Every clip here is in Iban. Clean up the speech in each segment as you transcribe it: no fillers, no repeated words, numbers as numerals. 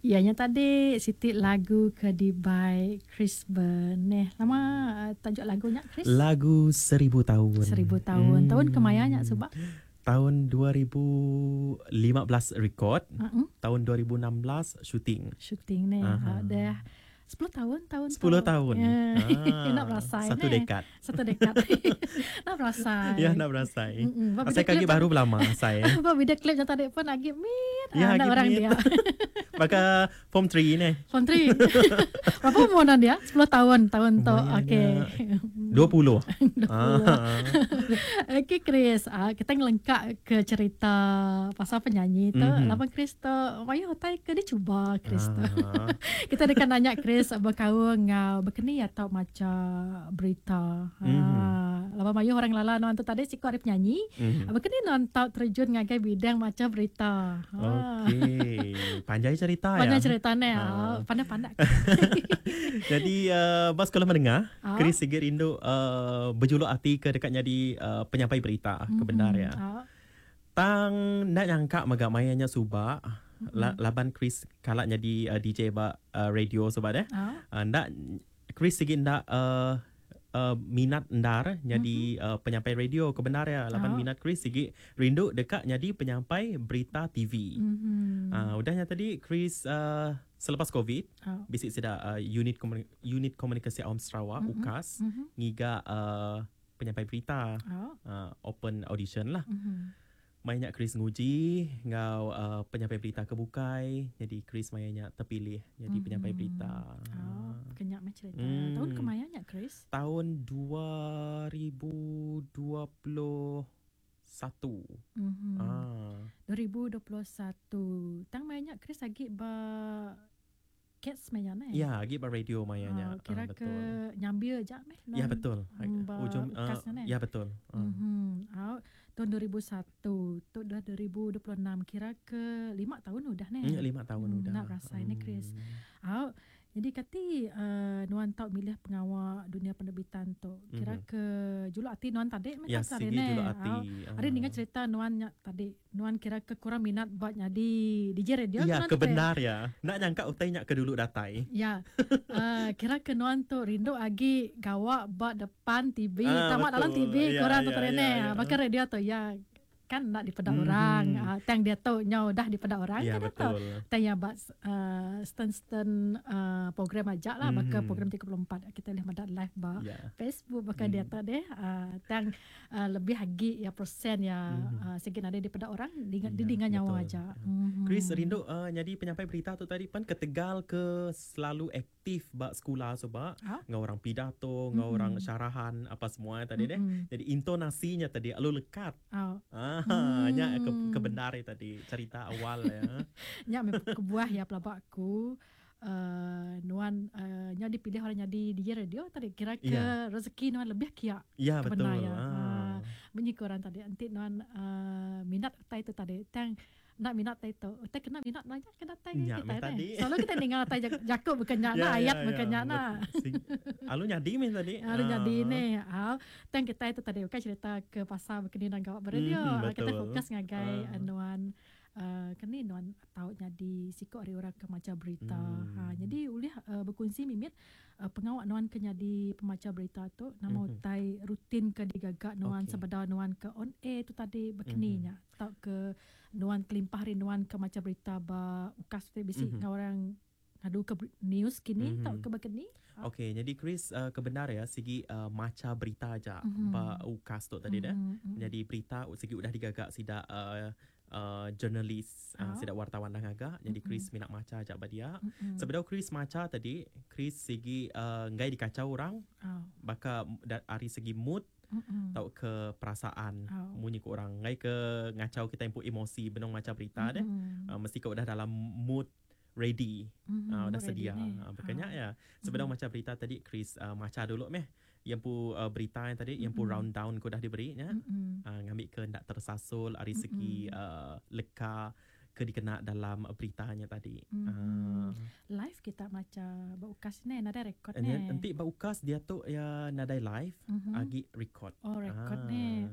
Iya nya tadi siti lagu ke dibai Chris Beneh. Nama tajuk lagu nya Chris? Lagu Seribu Taun. Seribu Taun. Hmm. Taun kemaya nya suba? Taun 2015 record, uh-huh. tahun 2016 shooting. Shooting ni. Uh-huh. Dah 10 tahun tahun 10 tahun. Yeah. Ah, nak berasai. Satu dekad. Satu dekad. Nak berasai. Ya, nak berasai. Asai kaki baru belama saya. Apa video klip yang tadi pun lagi mit. Ya, ah, orang dia. Maka form 3 ni. Form 3. Berapa umur dia? 10 tahun tahun tu. Okey. 20. 20. Ah. Okey Chris, ah, kita ngelengkap ke cerita pasal penyanyi tu. Mm-hmm. Laban Chris tu, mayuh utai ke dicuba Chris tu. Ah. Kita deka nanya Chris bekaul enggau bekeni atau macha berita. Mm-hmm. Laban mayuh orang ngelala nuan tu tadi siku ari penyanyi. Mm-hmm. Bekeni nuan tau terjun ngagai bidang macha berita. Okey. Panjai cerita ya. Panjai cerita ne. Ha. Pandai-pandai. Jadi ba sekolah menengah, ha? Chris sigi rindu bejuluk ati ke deka nyadi penyampai berita ke bendar ya. Ha. Tang enda nyangka mega maya nya suba mm-hmm. laban Chris kala nyadi DJ ba radio suba deh. Ha. Enda Chris sigi enda minat endar nyadi mm-hmm. penyampai radio ke bendar ya laban oh. minat Chris sigi rindu deka nyadi penyampai berita TV. Mm-hmm. Udah nya tadi Chris selepas Covid oh. bisi sida unit unit komunikasi awam Sarawak mm-hmm. UKAS mm-hmm. ngiga penyampai berita oh. Open audition lah. Mm-hmm. Maya nya Chris nguji enggau penyampai berita ke bukai. Nyadi Chris maya nya terpilih nyadi mm-hmm. penyampai berita. Oh, kenya meh cerita. Mm. Tahun kemaya nya Chris? Tahun 2021. Mm-hmm. Ah. 2021. Tang maya nya Chris agi ba Cats maya nya. Ya, agi ba radio maya nya. Oh, kira ke nyambil aja meh. Ya betul. Ujung ya betul. Mhm. Uh. Tahun 2001, tu dah 2026 kira ke 5 tahun udah neh. Ya 5 tahun udah. Nak rasa ini Chris. Au. Jadi kati nuan tau milih pengawa dunia penerbitan tu. Kira mm-hmm. ke juluk ati nuan tadi meh ya, sigi juluk ati. Ari ninga cerita nuan nya tadi. Nuan kira ke kurang minat ba nyadi DJ radio Ya, ke bendar ya. Enda nyangka utai nya ke dulu datai. Ya. Uh, kira ke nuan tu rindu agi gawa ba depan TV, ah, tama dalam TV ya, kurang tu ya, ya, ya. Baka radio tu ya kan enda dipeda mm-hmm. orang. Uh, tang dia tu nyau dah dipeda orang ya, kan betul. Tu. Tang ya ba uh, stand-stand program aja lah mm-hmm. baka program 34 kita boleh meda live ba yeah. Facebook baka mm. dia tu deh. Tang lebih agi iya persen iya sigi nadai dipeda orang dinga didinga nyawa aja. Chris rindu nyadi penyampai berita tu tadi pan ketegal ke selalu aktif ba sekula suba enggau orang pidato enggau orang syarahan apa semua tadi deh. Jadi intonasi nya tadi lalu lekat. Aaa nya ke bendar iya tadi cerita awal iya. Nya meh kebuah iya pelaba aku. Nuan nyau dipilih orang nyadi DJ radio tadi kira ke yeah. rezeki nuan lebih kia. Ya yeah, betul. Ya. Munyi ke orang tadi enti nuan minat utai tu tadi tang enda minat utai tu utai kena minat nuan nya ke datai nya kita tadi. Selalu kita ninga utai jaku bukan nya yeah, ayat yeah, bukan nya nah. Alu nyadi meh tadi. Alu nyadi ni. Tang kita itu tadi bukan cerita ke pasal bekeni nang gawa beradio. Kita fokus ngagai nuan Keni nuan tau nyadi siku ari orang ke macha berita. Ha nyadi ulih bekunsi mimit pengawa nuan ke nyadi pemacha berita tu nama utai rutin ke digaga nuan sebedau nuan ke on air tu tadi bekeni nya tauka nuan kelimpah ari nuan ke macha berita ba ukas tu bisi enggau orang ngadu ke news kini tauka bekeni. Okey nyadi Chris ke bendar iya sigi macha berita aja ba ukas tu tadi deh. Nyadi berita sigi udah digaga sida Journalist sida wartawan dah ngaga nyadi Chris mina macha aja ba dia. Sebedau Chris macha tadi Chris sigi enggai dikachau orang baka ari segi mood tauka perasaan munyi ku orang enggai ke ngachau kitai empu emosi benung macha berita deh mesti ke udah dalam mood ready udah sedia baka nya iya. Sebedau macha berita tadi Chris macha dulu meh Iya empu berita nya tadi, iya empu round down ke udah diberi nya ngambi ke enda tersasul ari segi leka ke dikena dalam beritanya tadi. Live kita maca ba ukas ne nadai record ne. Enti ba ukas diatu iya nadai live agi record. Oh record ne.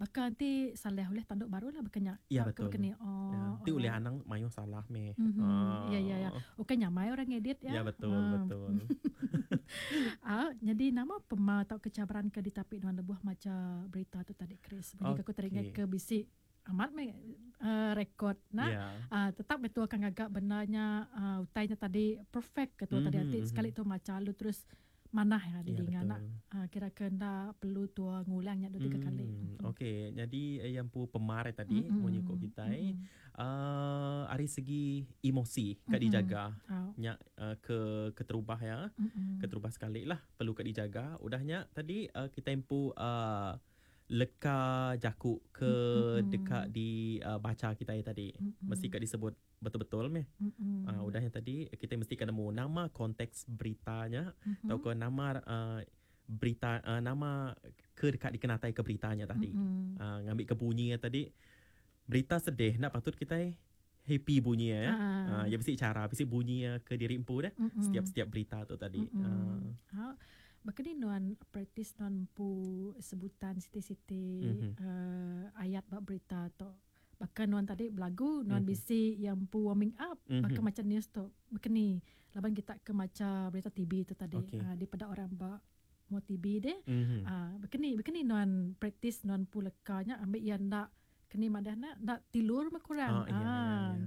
Baka enti salah ulih tandu baru lah baka nya. Ya betul. Baka ni. Oh. Enti ulih anang mayuh salah meh. Ya ya ya. Ukai nyamai orang ngedit ya. Ya betul betul. Nyadi nama pema tauka cabaran ke ditapi nuan lebuh macha berita tu tadi Chris. Bagi aku teringat ke bisi amat meh rekod nah tetap meh tua akan ngaga benda nya utai nya tadi perfect ke tua tadi ati sekali tua macha lalu terus manah ya didinga nak kira ke enda perlu tua ngulang nya dua tiga kali. Okey nyadi iya empu pemar tadi munyi ku kitai ari segi emosi ka dijaga nya ke keterubah iya keterubah sekali lah perlu ka dijaga udah nya tadi kitai empu leka jaku ke deka dibacha kitai tadi mesti ka disebut betul-betul meh. Udah nya tadi kitai mesti ka nemu nama konteks berita nya tauka nama berita nama ke deka dikenataika berita nya tadi. Ngambika bunyi iya tadi berita sedih enda patut kitai happy bunyi iya ya. Iya bisi chara bisi bunyi iya ke diri empu deh setiap-setiap berita tu tadi. Baka ni nuan praktis nuan empu sebutan siti-siti ayat ba berita tu. Baka nuan tadi belagu nuan bisi iya empu warming up baka macha news tu. Baka ni laban kita ke macha berita TV tu tadi dipeda orang ba mua TV deh. Baka ni baka ni nuan praktis nuan empu leka nya ambi iya enda keni madah ne enda tilur meh kurang.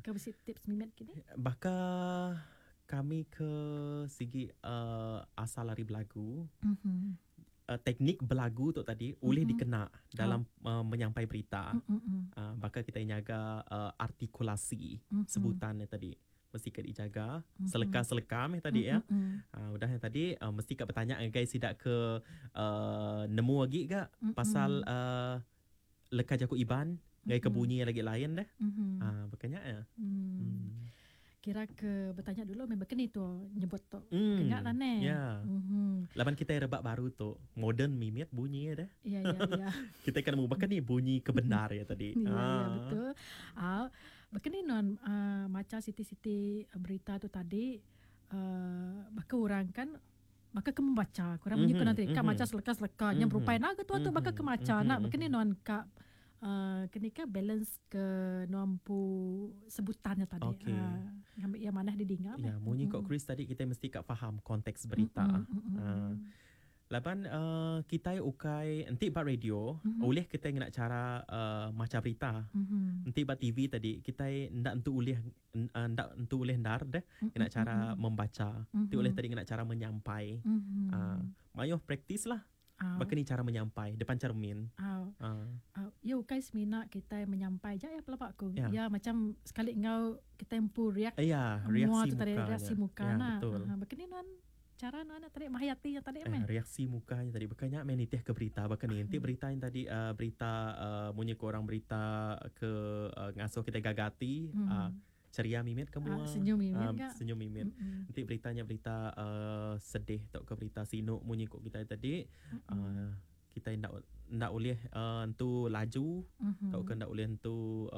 Ke bisi tips mimit kini. Baka kami ke sigi asal ari belagu, teknik belagu tu tadi ulih dikena dalam menyampai berita. Baka kitai nyaga artikulasi sebutan nya tadi mesti ka dijaga seleka-seleka meh tadi ya. Udah nya tadi mesti ka betanya ngagai sida ke nemu agi ga pasal leka jaku Iban ngagai ke bunyi lagi lain deh. Baka nya ya. Kira ke betanya dulu meh baka ni tu nyebut tu. Kenya lah neh. Ya. Laban kitai rebak baru tu moden mimit bunyi iya deh. Ya ya ya. Kitai kena nemu baka ni bunyi ke bendar iya tadi. Ya ya betul. Au baka ni nuan macha siti-siti berita tu tadi baka orang kan baka ke membaca ku orang munyi ku nanti ka macha seleka-seleka nya berupai enda ke tua tu baka ke macha enda baka ni nuan ka Keni ka balance ke nuan empu sebutan nya tadi. Okey. Ngambi iya manah didinga meh. Ya, munyi ko Chris tadi kitai mesti ka faham konteks berita. Laban kitai ukai enti ba radio ulih kitai ngena chara macha berita. Enti ba TV tadi kitai enda entu ulih enda entu ulih endar deh ngena chara membaca. Ti ulih tadi ngena chara menyampai. Mayuh praktis lah. Baka ni chara menyampai depan cermin. Iya ukai semina kitai menyampai aja iya pelaba aku. Iya macam sekali enggau kitai empu react mua tu tadi reaksi muka nya. Baka ni nuan chara nuan nya tadi menghayati nya tadi meh. Reaksi muka nya tadi baka nya meh nitih ke berita baka ni. Enti berita nya tadi berita munyi ku orang berita ke ngasuh kitai gaga ati. Ceria mimit ke mua. Senyum mimit ga. Senyum mimit. Enti berita nya berita sedih tauka berita sinu munyi ku kitai tadi kitai enda enda ulih entu laju tauka enda ulih entu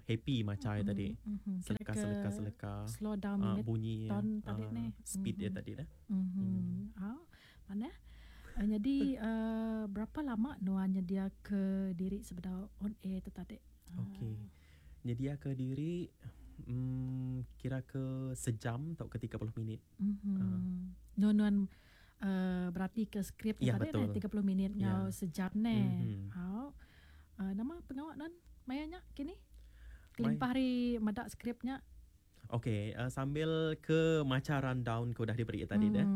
happy macha iya tadi. Seleka seleka seleka slow down mimit bunyi speed iya tadi dah. Manah. Nyadi berapa lama nuan nyediaka diri sebedau on air tu tadi? Okey. Nyediaka diri umm kira ke sejam tauka 30 minit. Uhh. Nuan nuan uhh beratika skrip nya tadi neh 30 minit enggau sejam neh. Au. Nama pengawa nuan maya nya kini? Kelimpah ari meda skrip nya. Ok sambil ke macha rundown ke udah diberi tadi deh.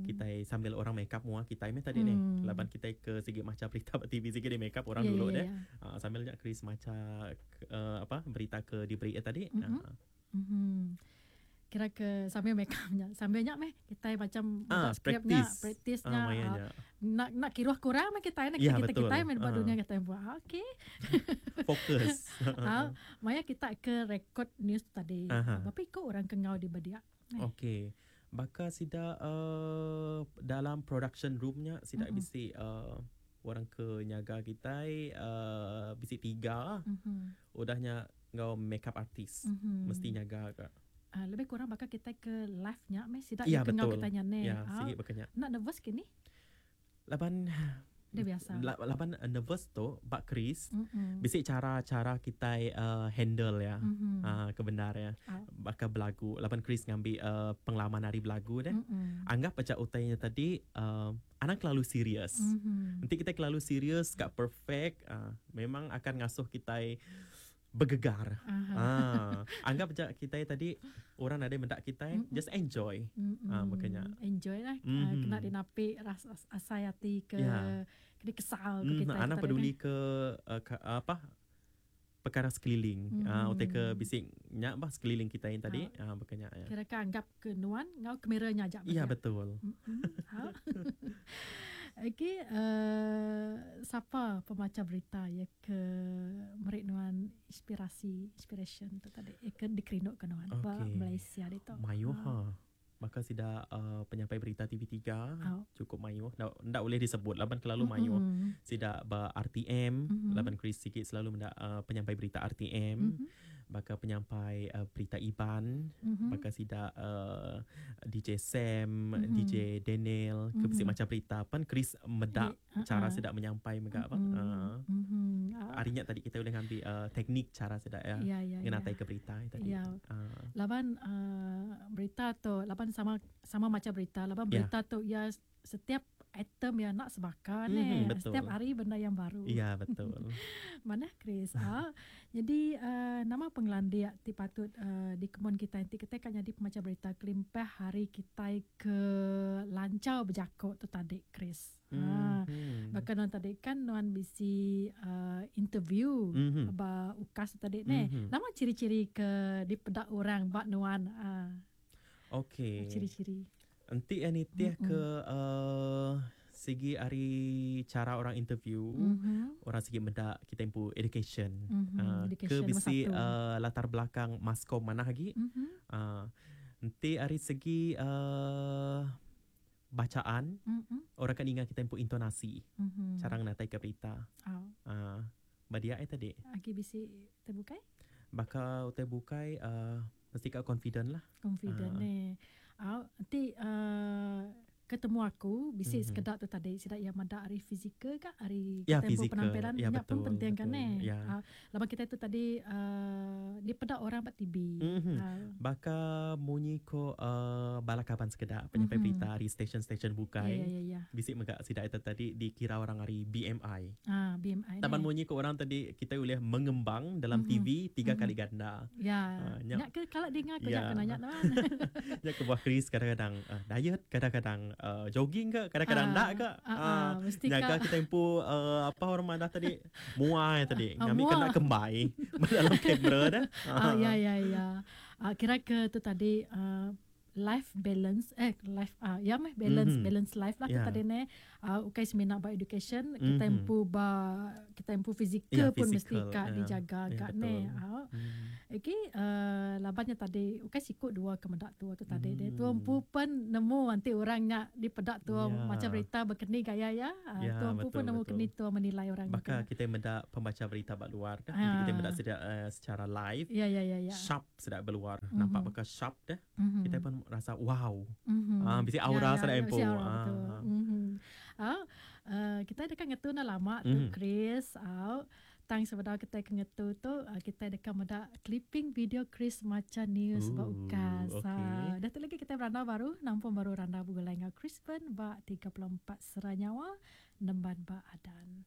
Kitai sambil orang make up mua kitai meh tadi neh. Laban kitai ke sigi macha berita ba TV sigi di make up orang dulu deh. Sambil nya Chris macha apa berita ke diberi tadi. Kira ke sambil make up nya. Sambil nya meh kitai macam meda skrip nya, praktis nya. Enda enda kiruh ke orang meh kitai nya kita kitai meh ba dunia kitai empu. Okey. Fokus. Maya kita ke rekod news tu tadi, berapa iku orang ke enggau di ba dia? Okey. Baka sida dalam production room nya sida bisi orang ke nyaga kitai bisi tiga. Udah nya. Ngau makeup artist. Mesti nyaga ka. Lebih kurang baka kitai ke live nya meh sida iya ke enggau kitai nya neh. Ya, sigi baka nya. Enda nervous ke ni? Laban Enda biasa. Laban nervous tu ba Chris bisi cara-cara kitai handle iya ke bendar iya. Baka belagu laban Chris ngambi pengalaman ari belagu deh. Anggap aja utai nya tadi anang kelalu serius. Enti kitai kelalu serius ka perfect memang akan ngasuh kitai begegar. Aa anggap aja kitai tadi orang nadai meda kitai just enjoy. Aa baka nya. Enjoy lah kena dinapi asai ati ke kena kesal ke kitai. Anang peduli ke apa perkara sekeliling. Aa utai ke bisi nya bah sekeliling kitai tadi aa baka nya. Kira ke anggap ke nuan enggau kamera nya aja. Ya betul. Okey sapa pemacha berita iya ke meri nuan inspirasi inspiration tu tadi iya ke dikerindu ke nuan ba Malaysia ditu. Mayuh ha. Baka sida penyampai berita TV3 chukup mayuh enda enda ulih disebut laban kelalu mayuh. Sida ba RTM laban Chris sigi selalu meda penyampai berita RTM. Baka penyampai berita Iban baka sida DJ Sam, DJ Daniel ke bisi macha berita pen Chris meda chara sida menyampai mega bah. Ari nya tadi kita ulih ngambi teknik chara sida iya ngenataika berita nya tadi. Laban berita tu laban sama sama macha berita laban berita tu iya Setiap item iya enda sebaka neh. Betul. Setiap hari benda yang baru. Ya betul. Manah Chris. Ha. Jadi nama pengelandik ti patut dikemun kitai enti kitai ka nyadi pemacha berita kelimpah hari kitai ke lanchar bejako tu tadi Chris. Ha. Baka nuan tadi kan nuan bisi interview ba UKAS tu tadi neh. Nama ciri-ciri ke dipeda orang ba nuan? Okey. Ciri-ciri. Enti iya nitih ke sigi ari chara orang interview, orang sigi meda kitai empu education. Ke bisi latar belakang maskom manah agi. Enti ari segi bacaan, orang ka ninga kitai empu intonasi, chara ngenataika berita. Ba dia iya tadi. Agi bisi utai bukai? Baka utai bukai mesti ka confident lah. Confident neh. Au enti ketemu aku bisi sekeda tu tadi sida iya meda ari fizikal ka ari ya, kitai empu penampilan ya, nya pun penting kan neh. Ya. Laban kitai tu tadi dipeda orang ba TV. Baka munyi ko bala kaban sekeda penyampai berita ari stesen-stesen bukai. Ya, ya, ya. Bisi mega sida ita tadi dikira orang ari BMI. Ah, BMI. Taban munyi ko orang tadi kitai ulih mengembang dalam TV tiga kali ganda. Ya. Nya ke kala dinga ku nya ke nanya nuan. Nya kebuah Chris kadang-kadang diet, kadang-kadang jogging ka, kadang-kadang enda ka. Mesti nyaga kita empu apa orang madah tadi muai tadi ngambi kena kembai ba dalam kamera dah. Ya ya ya. Kira ke tu tadi life balance eh life ya meh balance balance life lah tu tadi neh. Ukai semina ba education kitai empu ba kitai empu fizikal pun mesti ka dijaga ka neh. Okey laban nya tadi ukai siku dua ke meda tua tu tadi deh. Tua empu pen nemu enti orang nya dipeda tua macha berita bekeni gaya iya. Tua empu pun nemu keni tua menilai orang nya. Baka kitai meda pembacha berita ba luar kah enti kitai meda sida secara live sharp sida ba luar nampak baka sharp deh. Kitai pun rasa wow. Bisi aura sada empu. Bisi aura betul. Kitai deka ngetu enda lama tu Chris. Tang sebedau kitai ke ngetu tu kitai deka meda clipping video Chris macha news ba UKAS. Dah tu lagi kitai berandau baru nampung baru randau begulai enggau Chris Ben ba 34 Sera Nyawa nemban ba Adan.